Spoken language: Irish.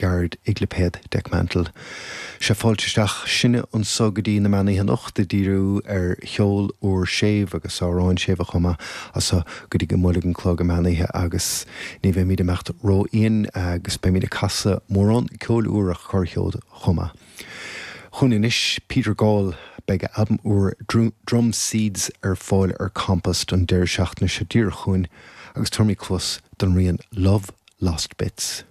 Gairid i gclipéad Dekmantel. Sea, fáilte isteach sinne anso go dtí na meánoíche anocht ag díriú ar cheol úr séimh agus amhráin séimhe chomh maith as so go dtí go mbuailfidh an clog an meánoíche agus ní bheimid ag imeacht ródhian agus beimid ag casadh mórán ceoil úr ach corrcheol chomh maith. Chugainn anois Peter Gall, beidh a albam úr Drum Seeds ar fáil ar Compost an deireadh seachtaine seo díreach chugainn agus tabharfaimid cluas don rian Love Lost Bits.